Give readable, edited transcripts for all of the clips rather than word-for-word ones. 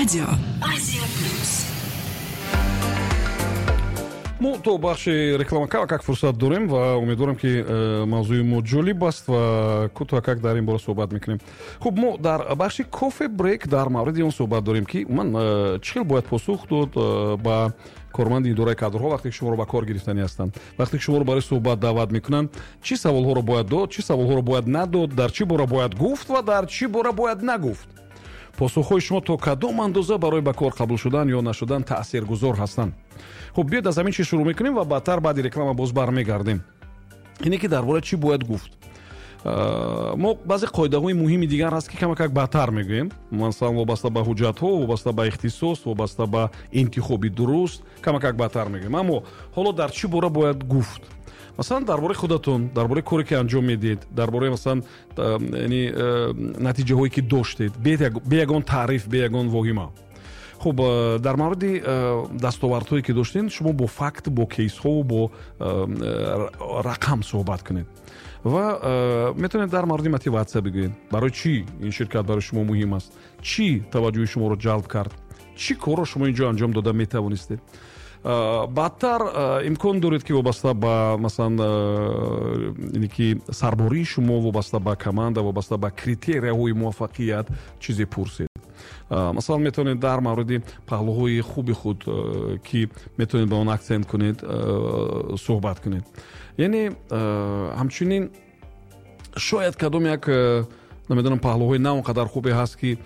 Радио Азия Плюс. Мо то бахши реклама камакак фурсат дорем ва умедворам, ки мавзӯи мо ҷолиб аст ва кӯтоҳакак дар ин бора суҳбат мекунем. Хуб, мо дар бахши кофе брейк дар мавриди он суҳбат дорем, ки умуман чӣ хел бояд посух дод ба корманди идораи кадрҳо, вақте ки шуморо ба кор гирифтанӣ ҳастанд, вақте ки шуморо барои суҳбат даъват мекунанд. Чӣ саволҳоро бояд дод, чӣ саволҳоро бояд надод, дар чӣ бора бояд гуфт ва дар чӣ бора бояд нагуфт, посухҳои шумо то кадом андоза барои ба кор қабул шудан ё нашудан таъсиргузор ҳастанд. Хуб, биёед, аз ҳамин чиз шурӯъ мекунем ва баъдтар, баъди реклама, боз бармегардем. Ине ки дар бораи чӣ бояд гуфт. Мо баъзе қоидаҳои муҳими дигар ҳаст, ки камакак баъдтар мегӯем, масалан, вобаста ба ҳуҷҷатҳо, вобаста ба ихтисос, вобаста ба интихоби дуруст, камакак баъдтар мегӯем. Аммо ҳоло дар чӣ бора бояд гуфт? Масалан, дар бораи худатон, дар бораи коре, ки анҷом медиҳед, дар бораи, масалан, яъне натиҷаҳое, ки доштед, бе ягон таъриф, бе ягон воҳима. Хуб, дар мавриди дастовардҳое, ки доштед, шумо бо факт, бо кейсҳову бо рақам суҳбат кунед ва метавонед дар мавриди мотиватсия бигӯед: барои чӣ ин ширкат барои шумо муҳим аст, чӣ таваҷҷӯҳи шуморо ҷалб кард, чӣ корро шумо ин ҷо анҷом дода метавонистед. Баъдтар имкон доред, ки вобаста ба, масалан, ине ки сарбории шумо, вобаста ба команда, вобаста ба критерияҳои муваффақият чизе пурсед. Масалан, метавонед дар мавриди паҳлӯҳои хуби худ, ки метавонед ба он аксент кунед, суҳбат кунед. Яъне ҳамчунин шояд кадом як, намедонам, паҳлӯҳои на он қадар хубе ҳаст, ки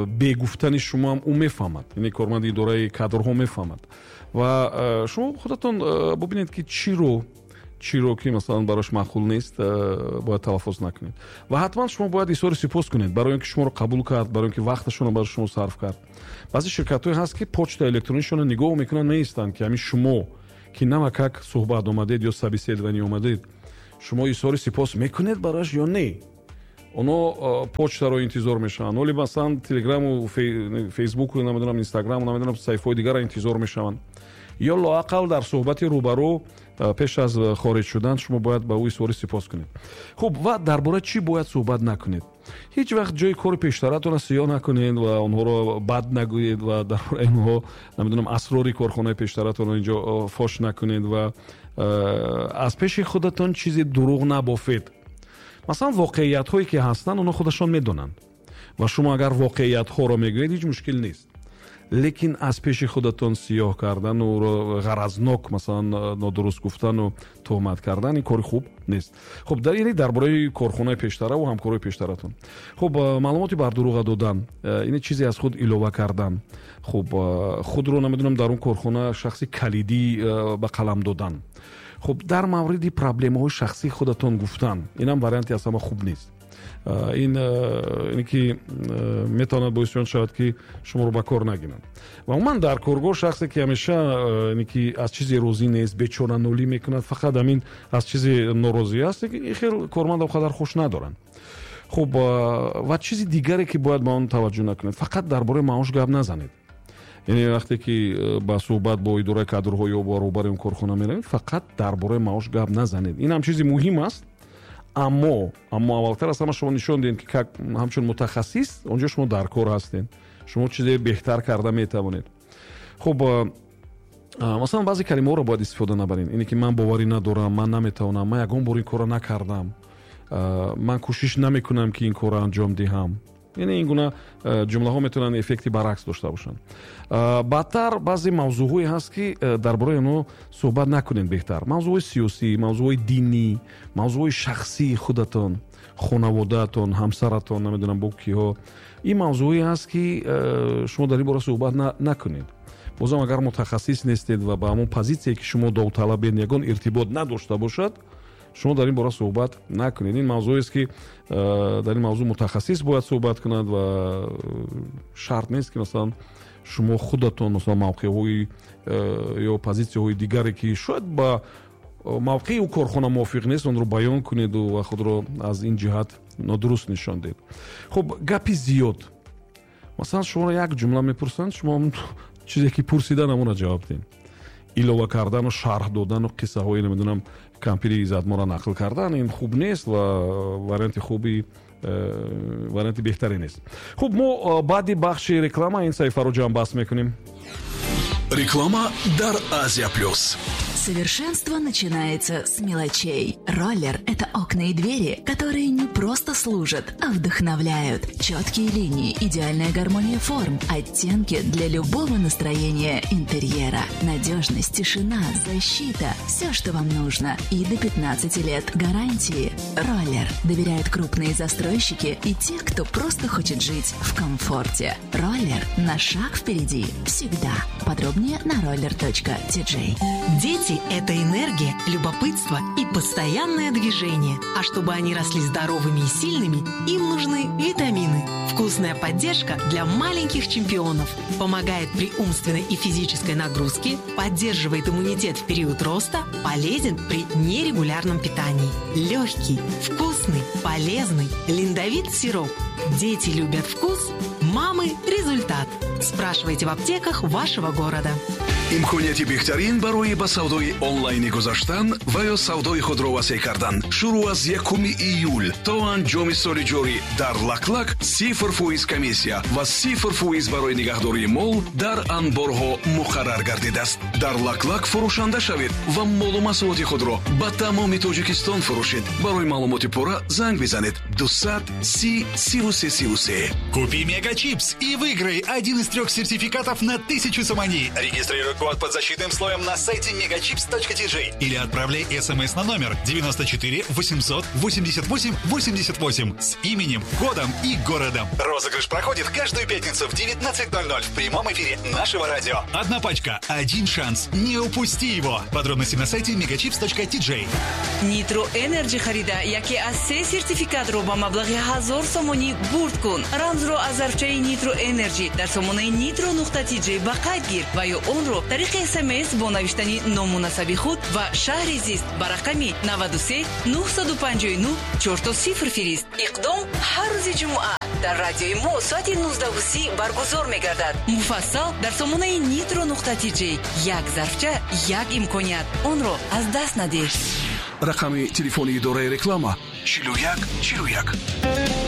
бегуфтани шумоам ӯ мефаҳмад, яъне корманди идораи кадрҳо мефаҳмад. Ва шумо худатон бубинед, ки чиро, ки, масалан, барош маъқул нест, бояд талаффуз накунед. Ва ҳатман шумо бояд изҳори сипос кунед барои он ки шуморо қабул кард, барои он ки вақташонро барои шумо сарф кард. Баъзе ширкатҳое ҳаст, ки почтаи электронишонро нигоҳ мекунанд, меистанд, ки ҳамин шумо, ки навакак суҳбат омадед ё собеседование омадед, шумо изҳори сипос мекунед барояш ё не. Оно почтаро интизор мешаванд, оли, масалан, Телеграму Фейсбуку, намедонам, Инстаграму, намедонам, саҳифаҳои дигарро интизор мешаванд. Ё лоақал дар суҳбати рӯбарӯ пеш аз хориҷ шудан шумо бояд ба ӯ изҳори сипос кунед. Хуб, ва дар бораи чӣ бояд суҳбат накунед? Ҳеҷ вақт ҷои кори пештаратонро сиёҳ накунед ва онҳоро бад нагӯед ва дар бораи онҳо, намедонам, асрори корхонаи пештаратонро инҷо фош накунед ва аз пеши худатон чизе дурӯғ набофед. Масалан, воқеиятҳое, ки ҳастанд, онҳо худашон медонанд ва шумо агар воқеиятҳоро мегӯед, ҳеҷ мушкил нест, лекин аз пеши худатон сиёҳ кардану ғаразнок, масалан, нодуруст гуфтану туҳмат кардан, ин кори хуб нест. Хуб, дар дар бораи корхонаи пештара ва ҳамкорои пештаратон. Хуб, маълумоти бардурӯға додан, ин чизе аз худ илова кардан, хуб, худро, намедонам, дар он корхона шахси калидӣ ба қалам додан, хуб, дар мавриди проблемаҳои шахсии худатон гуфтан, инам варианти аз ҳама хуб нест. Ин ине ки метавонад боиси он шавад, ки шуморо ба кор нагиранд. Ва умуман дар коргоҳ шахсе, ки ҳамеша ине ки аз чизе розӣ нест, бечоранулӣ мекунад, фақат ҳамин аз чизе норозӣ аст, ин хел корманда он қадар хуш надоранд. Хуб, ва чизи дигаре, ки бояд ба он таваҷҷӯҳ накунед: фақат дар бораи маош гап назанед. Яъне вақте ки ба суҳбат бо идораи кадрҳо ё бо роҳбари он корхона меравед, фақат дар бораи маош гап назанед. Ин ҳам чизи муҳим аст, аммо аввалтар аз ҳама шумо нишон диҳед, ки как ҳамчун мутахассис онҷо шумо дар кор ҳастед, шумо чизе беҳтар карда метавонед. Хуб, масалан, баъзе калимаҳоро бояд истифода набаред, ине ки ман боварӣ надорам, ман наметавонам, ман ягон бор ин корро накардам, ман кӯшиш намекунам, ки ин корро анҷом диҳам. Яъне ин гуна ҷумлаҳо метавонанд эффекти баръакс дошта бошанд. Баъдтар баъзе мавзӯъҳое ҳаст, ки дар бораи онҳо суҳбат накунед беҳтар: мавзӯъҳои сиёсӣ, мавзӯъҳои динӣ, мавзӯъҳои шахсии худатон, хонаводаатон, ҳамсаратон, намедонам, бо киҳо. Ин мавзӯъҳое ҳаст, ки шумо дар ин бора суҳбат накунед. Бозам, агар мутахассис нестед ва ба ҳамон позитсие, ки шумо довталабед, ягон иртибот надошта бошад, шумо дар ин бора суҳбат накунед. Ин мавзӯест, ки дар ин мавзӯъ мутахассис бояд суҳбат кунад ва шарт нест, ки, масалан, шумо худатон, масалан, мавқеъҳои ё позитсияҳои дигаре, ки шояд ба мавқеи ӯ корхона мувофиқ нест, онро баён кунеду ва худро аз ин ҷиҳат нодуруст нишон диҳед. Хуб, гапи зиёд. Масалан, шуморо як ҷумла мепурсанд, шумо чизе, ки пурсидан, ҳамонро ҷавоб диҳед. Илова кардану шарҳ додану қиссаҳои, намедонам, кампири иззатморо нақл кардан, ин хуб нест ва варианти хуби Варианти беҳтаре нест. Хуб, мо баъди бахши реклама ин саҳифаро ҷамъбаст мекунем. Реклама дар Азия Плюс. Совершенство начинается с мелочей. Роллер – это окна и двери, которые не просто служат, а вдохновляют. Четкие линии, идеальная гармония форм, оттенки для любого настроения интерьера. Надежность, тишина, защита – все, что вам нужно. И до 15 лет гарантии. Роллер. Доверяют крупные застройщики и те, кто просто хочет жить в комфорте. Роллер на шаг впереди. Всегда. Подробнее на roller.tj. Дети – это энергия, любопытство и постоянное движение. А чтобы они росли здоровыми и сильными, им нужны витамины. Вкусная поддержка для маленьких чемпионов. Помогает при умственной и физической нагрузке, поддерживает иммунитет в период роста, полезен при нерегулярном питании. Легкий, вкусный, полезный Линдовит сироп. Дети любят вкус, мамы – результат. Спрашивайте в аптеках вашего города. Имконияти беҳтарин барои ба савдои онлайнӣ гузаштан ва ё савдои худро васеъ кардан шурӯъ аз 1 июл то анҷоми соли ҷорӣ дар Лаклак 0% комиссия ва 0% барои нигаҳдории мол дар анборҳо муқаррар гардидааст. Дар Лаклак фурӯшанда шавед ва молу маҳсулоти худро ба тамоми Тоҷикистон фурӯшед. Барои маълумоти пурра занг бизанед: 200 30 33 33. Купи Мегачипс и выиграй один из трех сертификатов на 1000 сомони. Регистрируй код под защитным слоем на сайте megachips.tj или отправляй смс на номер 94 888 88 с именем, годом и городом. Розыгрыш проходит каждую пятницу в 19.00 в прямом эфире нашего радио. Одна пачка, один шанс. Не упусти его. Подробности на сайте megachips.tj. Нитро Энерджи харида яке аз се сертификатро ба маблағи 1000 сомонӣ бурд кун. Рамзро аз зарфчаи Нитро Энерджи дар сомонаи nitro.tj ба қайд гир ва ё онро тариқи СМС бо навиштани ному насаби худ ва шаҳри зист ба рақами 93 959 00 фирист. Иқдом ҳар рӯзи ҷумъа дар радиои мо соати 19:30 баргузор мегардад. Муфассал дар сомонаи nitro.tj. Як зарфча, як имконият, онро аз даст надеҳ. Рақами телефони идораи реклама: 41 41.